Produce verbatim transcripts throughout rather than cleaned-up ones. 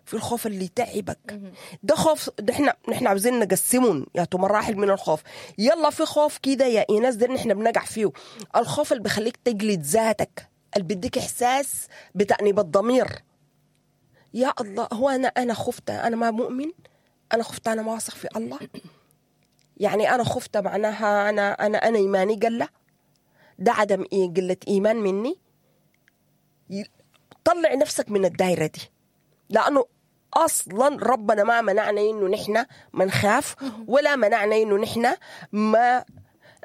في الخوف اللي يتعبك. ده خوف، ده احنا نحن عاوزين نقسمهم يا مراحل من الخوف. يلا في خوف كده يا ايناس ده نحن بنقع فيه، الخوف اللي بخليك تجلد ذاتك، اللي بيديك احساس بتأنيب الضمير. يا الله، هو انا انا خفت انا ما مؤمن، انا خفت انا ما واثق في الله، يعني انا خفت معناها انا انا انا ايماني قله، ده عدم إيه قلة ايمان مني. طلع نفسك من الدايرة دي، لانه اصلا ربنا ما منعنا انه نحن ما نخاف، ولا منعنا انه نحن ما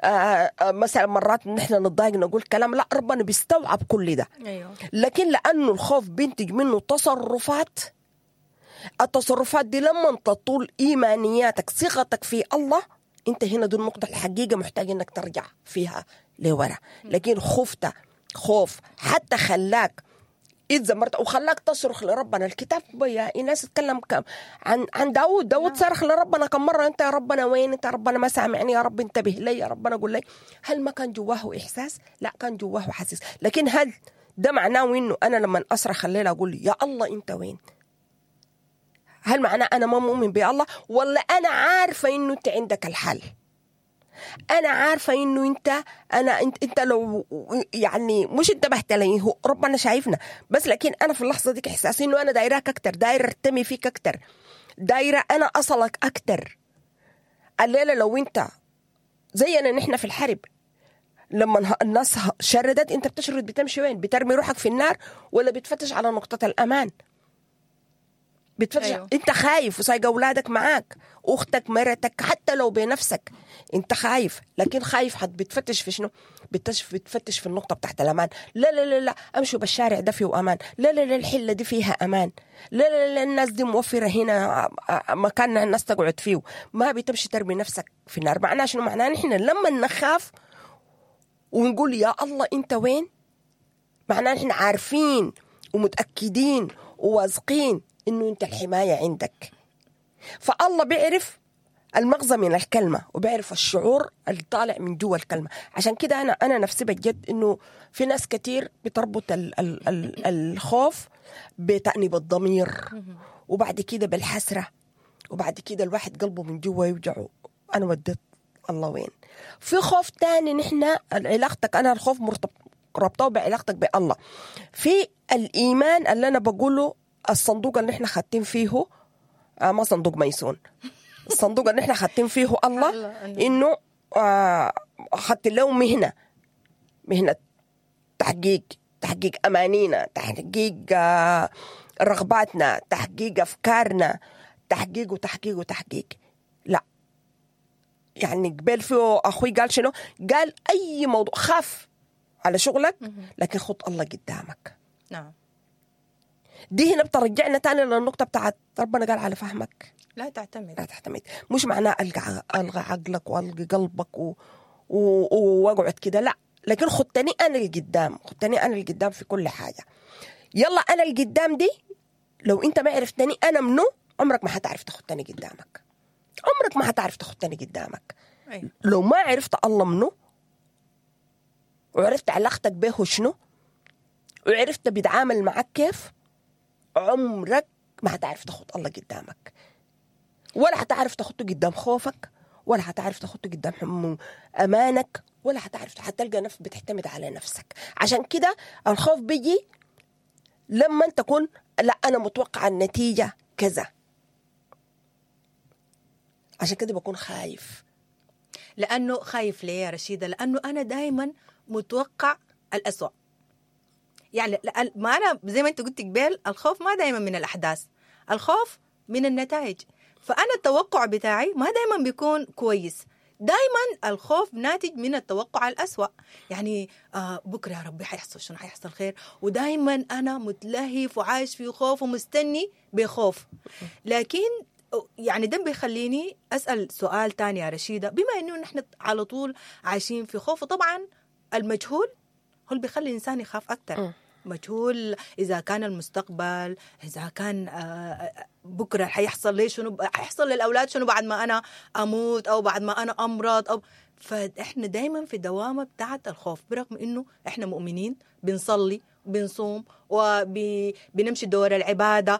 آه مثلا مرات نحن نتضايق نقول كلام، لا ربنا بيستوعب كل ده. أيوه. لكن لانه الخوف بينتج منه تصرفات، التصرفات دي لما تطول ايمانياتك ثقتك في الله، انت هنا دي النقطة الحقيقة محتاج انك ترجع فيها لورا. لكن خفت خوف حتى خلاك اتذمرت وخلاك تصرخ لربنا. الكتاب يا ايناس اتكلم كم عن عن داود، داود صرخ لربنا كم مرة، انت يا ربنا وين، انت يا ربنا ما سامعني، يا رب انتبه لي، يا ربنا قول لي. هل ما كان جواه احساس؟ لا كان جواه حسيس. لكن هل ده معناه انه انا لما اصرخ الليلة اقول يا الله انت وين؟ هل معناه انا ما مؤمن بالله؟ ولا انا عارفه انه انت عندك الحل، انا عارفه انه انت انا انت, انت لو يعني مش انتبهت لي، هو ربنا شايفنا بس، لكن انا في اللحظة ديك احساسي انه انا دايراك اكتر، دايرة ارتمي فيك اكتر، دايرة انا اصلك اكتر. الليلة لو انت زينا نحن في الحرب، لما الناس شردت انت بتشرد، بتمشي وين؟ بترمي روحك في النار ولا بتفتش على نقطة الامان؟ بتفتش. أيوه. انت خايف وسايق اولادك معاك، اختك، مرتك، حتى لو بنفسك انت خايف، لكن خايف حد بتفتش في شنو؟ بتفتش بتفتش في النقطة بتاعت الامان. لا لا لا لا امشوا بالشارع ده فيه امان، لا لا لا الحلة دي فيها امان، لا لا لا الناس دي موفره هنا مكان الناس تقعد فيه. ما بتمشي ترمي نفسك في النار. معناه شنو؟ معناه نحن لما نخاف ونقول يا الله انت وين، معناه نحن عارفين ومتاكدين وواثقين انه انت الحماية عندك. فالله بيعرف المغزى من الكلمة وبيعرف الشعور اللي طالع من جوا الكلمة. عشان كده انا انا نفسي بجد انه في ناس كتير بتربط ال ال ال الخوف بتأنيب الضمير، وبعد كده بالحسره، وبعد كده الواحد قلبه من جوا يوجعه، انا وديت الله وين. في خوف تاني نحن علاقتك، انا الخوف مرتبط ربطه بعلاقتك بالله. في الايمان اللي انا بقوله الصندوق اللي احنا خاتين فيه، آه ما صندوق ميسون، الصندوق اللي احنا خاتين فيه الله، انه آه خدت له مهنة، مهنة تحقيق، تحقيق امانينا، تحقيق آه رغباتنا، تحقيق افكارنا، تحقيق وتحقيق وتحقيق. لا يعني قبل فيه اخوي قال شنو؟ قال اي موضوع خاف على شغلك لكن خط الله قدامك. نعم. دي هنا بترجعنا تاني للنقطة بتاعت ربنا قال على فهمك لا تعتمد. لا تعتمد. مش معناه ألقى ألغى عقلك وألغي قلبك و... و... واقعد كده، لا، لكن خدتني أنا القدام، خدتني أنا القدام في كل حاجة. يلا أنا القدام دي لو أنت ما عرفتني أنا منو، عمرك ما حتعرف تخدتني قدامك، عمرك ما حتعرف تخدتني قدامك. أيوة. لو ما عرفت الله منو، وعرفت علاقتك به شنو، وعرفت بيتعامل معك كيف، عمرك ما هتعرف تاخد الله قدامك، ولا هتعرف تاخده قدام خوفك، ولا هتعرف تاخده قدام امانك، ولا هتعرف، هتلقى نفسك بتعتمد على نفسك. عشان كده الخوف بيجي لما تكون لا انا متوقع النتيجة كذا، عشان كده بكون خايف. لانه خايف ليه يا رشيده؟ لانه انا دائما متوقع الأسوأ. يعني ما أنا زي ما أنت قلت قبل، الخوف ما دايما من الأحداث، الخوف من النتائج. فأنا التوقع بتاعي ما دايما بيكون كويس، دايما الخوف ناتج من التوقع الأسوأ. يعني آه بكرة يا ربي حيحصل شنو، حيحصل خير، ودايما أنا متلهف وعايش في خوف ومستني بخوف. لكن يعني ده بيخليني أسأل سؤال تاني يا رشيدة، بما أنه نحن على طول عايشين في خوف، وطبعا المجهول هو اللي بيخلي الإنسان يخاف أكتر. مجهول إذا كان المستقبل، إذا كان بكرة حيحصل لي شنو، حيحصل للأولاد شنو بعد ما أنا أموت أو بعد ما أنا أمرض أو فإحنا دايما في دوامة بتاعة الخوف، برغم إنه إحنا مؤمنين بنصلي بنصوم وبنمشي دور العبادة